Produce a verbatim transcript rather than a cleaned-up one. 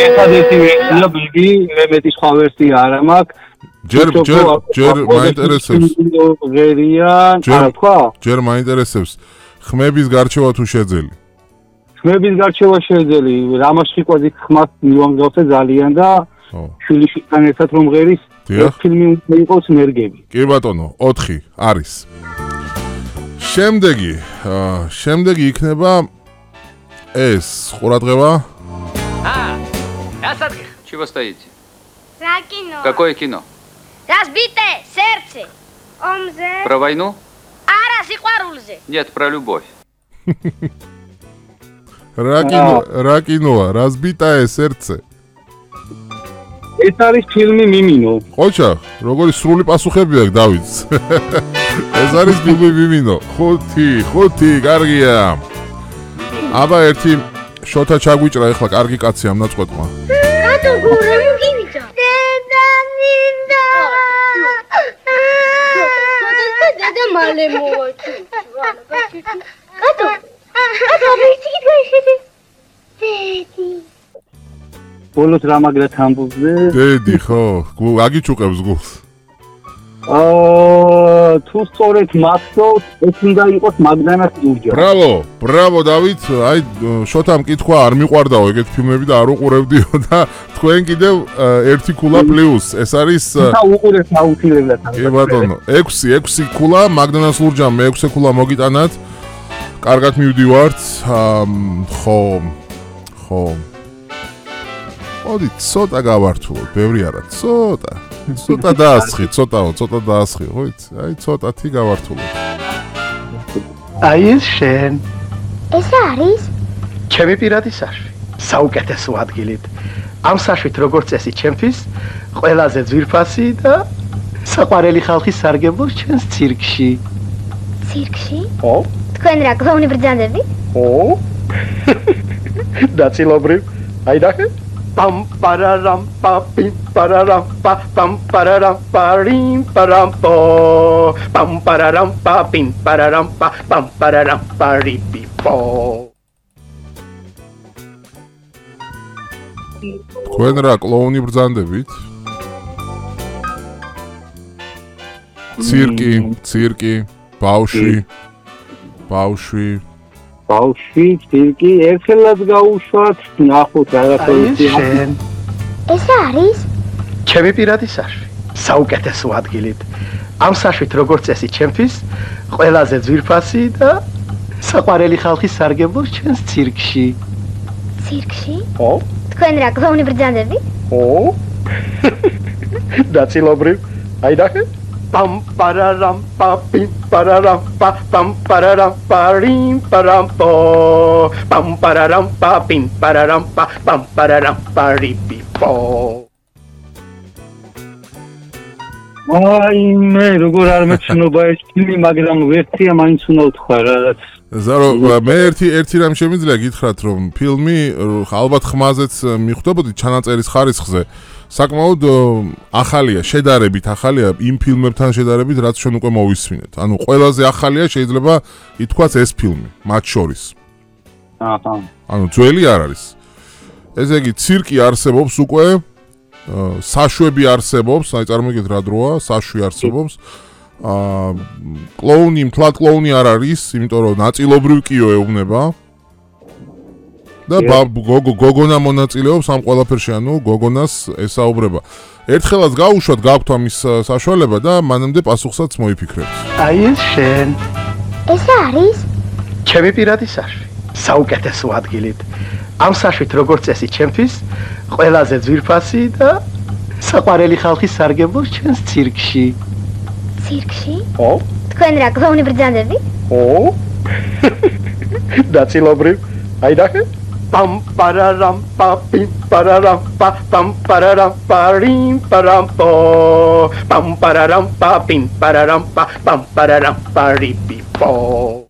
ერთადერთი ვერსია ბიგი, მეტი სხვა ვერსია არ მაქვს. ჯერ ჯერ ჯერ მაინტერესებს. ღერიან, არა თქვა? ჯერ მაინტერესებს. ხმების გარჩევა თუ შეძელი. ხმების გარჩევა შეძელი, რამას ფიკვაზით ხმას მივანგავსე ძალიან და შვილიშვილთან ერთად რომ ღერის ფილმი იყოს მერგები. კი ბატონო, ოთხი არის. შემდეგი, შემდეგი იქნება ეს ყურადღება. А, Асадгих, чего стоите? Про кино. Какое кино? Разбитое сердце. Омзе. Про войну? Ара сиყვარულზე. Нет, про любовь. რა кино, რა киноა, разбитое сердце. ეს არის ფილმი მიმინო. ხოჭა, როგორი სრული პასუხები აქვს დავითს. ეს არის ფილმი მიმინო. ხუთი, ხუთი, კარგია. აბა ერთი შოთა ჩაგვიჭრა ეხლა კარგი კაცი ამ ნაწყვეტმა. რატო გურა მოგივიდა? დედანინდა. დედა მალე მოვაჩი. რატო? რატო ვიცი გიშვეშეთი? დედი. ბოლოს რა მაგრა თამბობზე? დედი ხო, აგიჩუყებს გულს. აა თუ სწორედ მახსოვს, ეს უნდა იყოს მაგდანას ურჯა. ბრავო, ბრავო დავით, აი შოთამ კითხვა არ მიყვარდაო ეგეთ ფილმები და არ უყურებდიო და თქვენ კიდევ ერთი ქულა პლუს, ეს არის და უყურეთ აუცილებლად. კი ბატონო, ექვსი, ექვსი ქულა მაგდანას ურჯამ, მეექვსე ქულა მოგიტანათ. კარგად მივდივართ. ხო, ხო. მოდი, ცოტა გავართულოთ, ბევრი არა, ცოტა. ცოტა დაასხი, ცოტაო, ცოტა დაასხი, ხო იცი? აი ცოტათი გავართულოთ. აი ეს შენ. ეს არის? ჩემი პირადი საშვი. საუკეთესო ადგილით. ამ საშვით როგორც წესი ჩემთვის, ყველაზე ძვირფასი და საყვარელი ხალხი სარგებლობს ჩვენს ცირკში. ცირკში? ო? თქვენ რა კლოუნი ბრძანდები? ო? დაწილობრივ. აი დახე? Pam pararam pa pim pararam pa pam pararam parim param po pam pararam pa pim pararam pa pam pararam paripi po თქვენ რა კლოუნი ბრძანდებით? ცირკი, ცირკი, ბავშვი, ბავშვი ბავშვი, ცირკი, ერთხელაც გაუშვათ, ნახოთ რაღაცა. შენ. ეს არის? ჩემი პირადი საშვი. საუკეთესო ადგილით. ამ საშვით როგორც წესი ჩემთვის, ყველაზე ძვირფასი და საყვარელი ხალხი სარგებლობს ჩვენს ცირკში. ცირკში? ო? თქვენ რა კლოუნი ბრძანდები? ო? დაწილობრივ. აი დახე? Pam pararam pa pim pararam pa pam pararam parim param po pam pararam pa pim pararam pa pam pararam paripi po აი მე როგორ არ მეცნობა ეს ფილმი, მაგრამ ვერსია მაინც უნდა ვთქვა რაღაც. ზარო, მე ერთი ერთი რამ შემიძლია გითხრათ, რომ ფილმი ალბათ ხმაზეც მიხვდებოდი ჩანაწერის ხარისხზე. საკმაოდ ახალია, შედარებით ახალია იმ ფილმებთან შედარებით, რაც ჩვენ უკვე მოვისმინეთ. ანუ ყველაზე ახალია შეიძლება ითქვას ეს ფილმი, მათ შორის. აჰა. ანუ ძველი არ არის. ესე იგი, ცირკი არსებობს უკვე, საშვები არსებობს, აი წარმოგიდგენთ რა დროა, საშვი არსებობს. აა კლოუნი, მთლად კლოუნი არ არის, იმიტომ რომ ნაწილობრივ კიო ეუბნება. და გოგო გოგონა მონაწილეობს ამ ყველაფერში, ანუ გოგონას ესაუბრება. ერთხელაც გაუშვათ გაქვთ ამის საშუალება და მანამდე პასუხსაც მოიფიქრებთ. აი ეს შენ. ეს არის? ჩემი პირადი საშვი. საუკეთესო ადგილით. ამ საშვით როგორც წესი ჩემთვის, ყველაზე ძვირფასი და საყვარელი ხალხი სარგებლობს ჩვენს ცირკში. ცირკში? ო? თქვენ რა კლოუნი ბრძანდები? ო? დაწილობრივ. აი დახე? Pam pararam pa pim pararam pa pam pararam parim param po pam pararam pa pim pararam pa pam pararam paripi po